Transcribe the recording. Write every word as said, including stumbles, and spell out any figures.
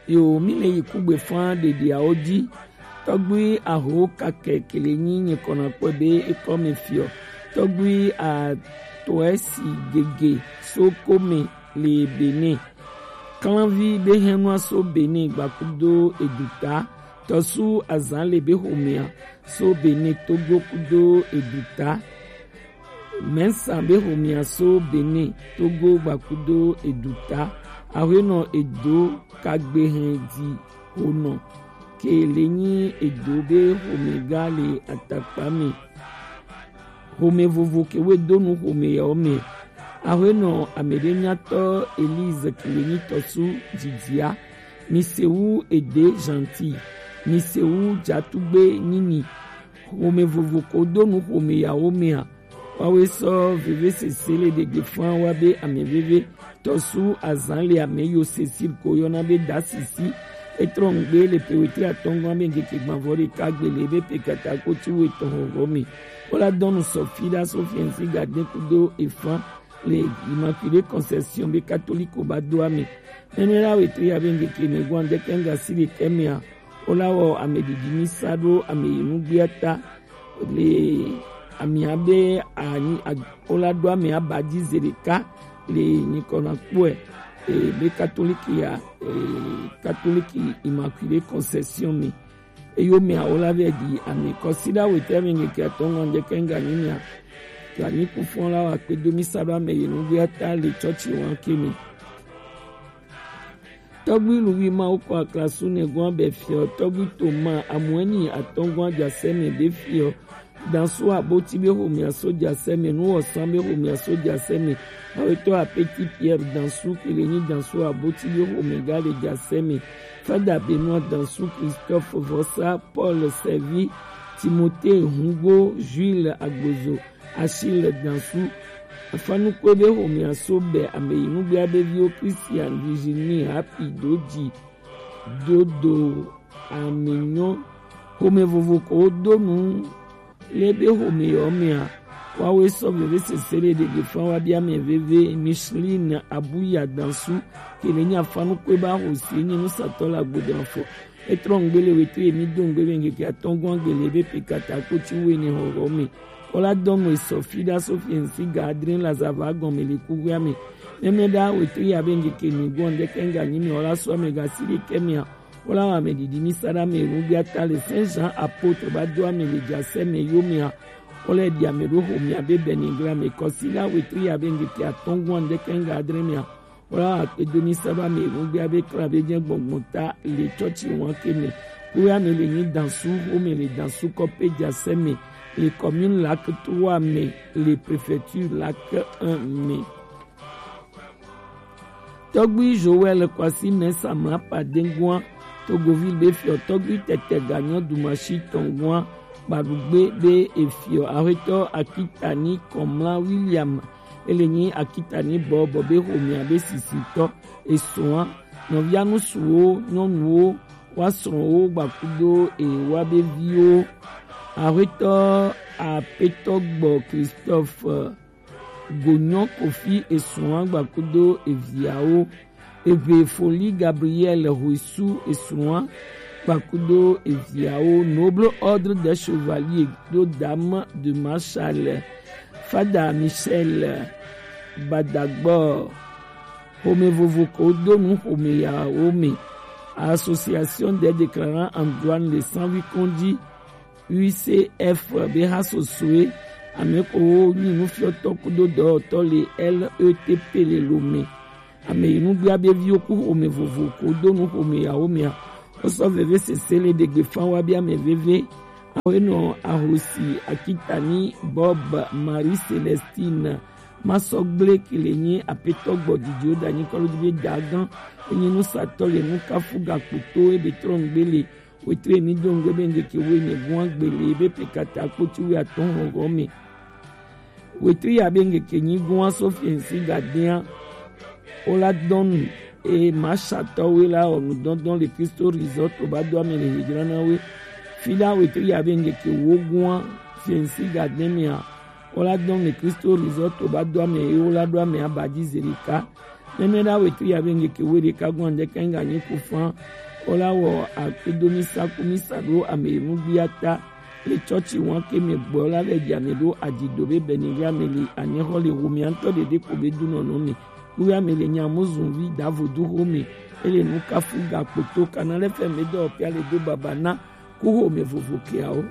Yo, mi le yi kugbe fan ɖeɖiawo ji. Tɔgbui aho kakɛ kele nyi nyikɔna kpɔe be ekɔ me fiɔ. Tɔgbui atɔɛ si gege so kome le Benin. Klanvi be hɛnua so Benin gbakudo eduta. Tɔsu azan le be homea so Benin Togo kudo eduta. Mɛnsa be homea so Benin Togo gbakudo eduta. Ahwenɔ edo kagbe hɛn di honɔ ke le nyi edo be homega le atakpa me. Home vovo ke we do nu home yawo me. Ahwenɔ ameɖenyatɔ Elise ke le nyi tɔsu didia. Misewu ede Gentil. Misewu jatugbe nyinyi. Home vovo ko do nu home yawo mea. Wawe sɔ veve sese le ɖegbe fan wa be ame veve. Tɔsu azan le ame yo Cecile ko yɔna be da sisi. Etrɔ ŋgbe le pe wetri atɔngɔn be ŋkeke gbanvɔ ɖeka gbe le be pe kata ko ti wo etɔn hɔhɔ me. Wola dɔnu sɔfi ɖa so fiɛnsi gade kudo efan le Immaculée Conception be katoliko ba do ame. Nene la wetri ya be ŋkeke me gwan de kenga si le kemea. Wola wɔ ame didi mi sa ɖo ame yi nugbea ta. Le amia be anyi ag- wola ɖo ame aba dzi ze ɖeka le nyikɔna kpɔe. E, be katoliki ya, e, katoliki Immaculée Conception me. Eyo mea wola vɛ di ame kɔsi ɖa wete ame ŋkeke atɔngɔn de kenga nyi mea. Gani kufɔn la wa kpe do mi sa ɖo ame yi nugbea ta le tsɔtsi wan ke me. Tɔgbi Luwi Mawu kɔ aklasu ne gɔn bɛ fiɔ tɔgbi Toma amuɛni atɔngɔn jasɛ mɛ bɛ fiɔ. Dansu aboti bɛ homɛ aso jasɛ mɛ, nuwɔsan bɛ homɛ aso jasɛ mɛ. Awetɔ apeti Pierre Dansu kele nyi Dansu aboti bɛ homɛ ga le jasɛ mɛ. Fada Benoît Dansu, Christophe Vossa, Paul Servi, Timothée Hungo, Jules Agbozo, Achille Dansu. Afanukpe be homea so bɛ ame yi nugbea be viwo Christian, Virginie, Happy, Doji, Dodo, Aminyo. Home vovo ko do nu le be home yɔ mea. Wawe sɔ veve sese le ɖeɖe fan wa bia mɛ veve Micheline Abuya Dansu kele nyi afanukpe ba hosi nyi nusatɔ la gbodo afɔ. Etrɔ ŋgbe le wetri emi do ŋgbe be ŋkeke atɔngɔn gbele be pe kata kpoti wene hɔhɔ me. Wola dɔnu esɔ fi ɖa so fiɛnsi ga adre la zava gɔn me le kuwea me. Mɛmɛ ɖa wetri ya be ŋkeke mi gɔn de kenga nyi me wola so ame ga si ɖe kɛ mea. Wola wa ame didi mi sa ɖa me ru bia ta le Saint Jean apôtre ba do ame le jasɛ me yo mea. Wola di ame ɖo homea be bɛni gla me kɔsi la wetri ya be ŋkeke atɔngɔn de kenga adre mea. Wola akpe do mi sa ɖo ame ŋugbe abe kla be dze gbɔngbɔn ta le tsɔtsi wan ke me. Wo ya me le nyi Dansu, wo me le Dansu kɔpe jasɛ me, le commune Lac trois me, le préfecture Lac un me. Tɔgbi Joël Kwasi mɛ Samla Padengua, Togoville be fiɔ tɔgbi tɛtɛ ganyɔ Dumasi tɔngua, Badugbe be efiɔ, Ahwetɔ Akitani Kɔmla William, ele nyi Akitani bɔ bɔ be homea be sisitɔ, esɔa, nɔvia nusuwo, nyɔnuwo, wa srɔ̃wo gbakudo ewa be viwo. Ahwetɔ Apetɔ Gbɔ Christophe, Gonyɔ Kofi esrɔ̃a gbakudo eviawo. Eve Foli Gabriel Hoisu esrɔ̃a gbakudo eviawo. Noble Ordre des Chevaliers do Dame de Marshall. Fada Michel Badagbɔ. Home vovo ko do nu home yawo me. Association des déclarants en douane de Sanvi Kondi, U C F be ha sosoe, ame ko wo nyi nufiɔtɔ kudo dɔwɔtɔ le L E T P le Lomé. Ame yi nugbea be viwo ku home vovo ko do nu home yawo mea. Wo sɔ veve sese le ɖegbe fan wa be ame veve. Awe nɔ ahosi Akitani Bob Marie Celestine. Masɔgble ke le nyi apetɔ gbɔ didiwo da nyi kɔlu be dagan. Enyi nusatɔ le nukafu gakpoto ebe trɔ ŋgbe le. Wetri emi do ŋgbe be ŋgeke wo ene gua gbele be pe kata kpoti wo atɔn hɔhɔ me. Wetri ya be ŋgeke nyi gua so fiɛnsi gadea. Wo la dɔnu e masatɔ we la ɔ nudɔdɔn le Kristo Resort ba do ame le hejra na we. Fi la wetri ya be ŋgeke wo gua fiɛnsi gadea mea. Wo la dɔnu le Kristo Resort ba do ame e wo la do ame abadi zerika. Nɛnɛ la wetu ya be ngeke we ɖeka gɔn ɖe kɛn ga nyi ku fan. Ola wɔ akpedo mi sa ku mi sa ɖo ame yi nu gbia ta. Le tsɔtsi wɔn ke mi gbɔ la le dza mi ɖo adzido be bɛni ya mi li anyixɔ le wo mi antɔ ɖeɖe ko be du nɔnɔ mi. Ku ya mi le nya mo zun vi da vodu ho mi. Ele nu kafu ga kpoto kana le fɛ mi dɔ pia le do baba na ku ho mi vovo kiawo.